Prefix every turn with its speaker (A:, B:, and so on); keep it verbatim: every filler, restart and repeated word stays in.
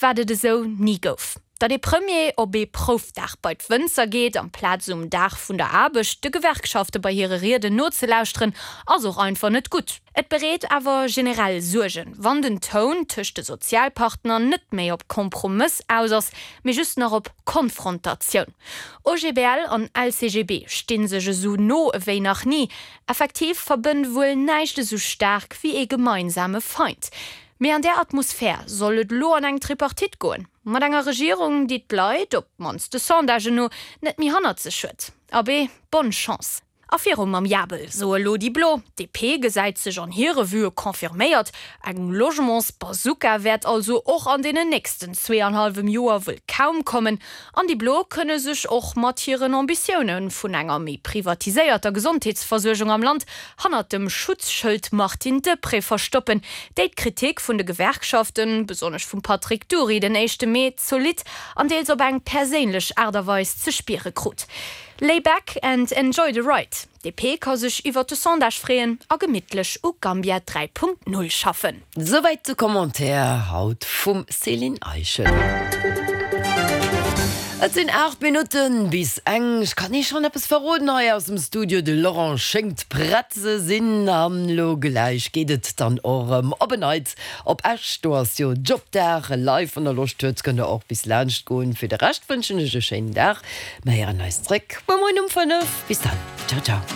A: wat et esou ni gouf. Datt de Premier op ee Proufdag bei d'Wënzer geet, amplaz um Dag vun der Aarbecht de Gewerkschafte bei hire Rieden nozelauschteren, ass och einfach net gutt. Et bereet awer generell Suergen, wann den Toun tëscht de Sozialpartner net méi op Kompromëss aus ass, mee just nach op Konfrontatioun. O G B L an L C G B stinn sech esou no ewéi nach ni. Effektiv verbënnt wuel näischt esou staark wéi ee gemeinsame Feind. Mee an där Atmosphär soll et lo an eng Tripartite goen. Mat enger Regierung, déi d'Leit, op d'mannst de Sondagen no, net méi hannert sech huet. Abee, bonne chance. A viru mam Jabel, sou elo déi Blo. D P gesäit sech an hire Vuë confirméiert. Eng Logementsbazooka wäert also och an deenen nächsten zweeanenhallwem Joer wuel kaum kommen. An déi Blo kënne sech och mat hiren Ambitioune vun enger méi privatiséierter Gesondheetsversuergung am Land hannert dem Schutzschëld Martine Deprez verstoppen, déi d'Kritik vun de Gewerkschaften, besonnesch vum Patrick Dury, den éischte Mee zolidd an deels op eng perséinlech Aart a Weis ze spiere krut. Lay back and enjoy the ride. D P ka sech iwwer de Sondage freeën a gemittlech u Gambia dräi Punkt null schaffen.
B: Souwäit de Commentaire haut vum Céline Eischen. Et sinn aacht Minutten bis eng. Ech kann Iech schonn eppes verroden hei aus dem Studio. De Laurent schéngt prett ze sinn an lo gläich geet et dann och erëm op en Neits op Esch. Do ass jo Jobdag live. Wann der Loscht hutt, kënnt der och bis laanscht goen. Fir de Rescht wënschen ech e schéinen Dag. Mir héieren eis zréck muer Moien um fënnef. Bis dann. Ciao, ciao.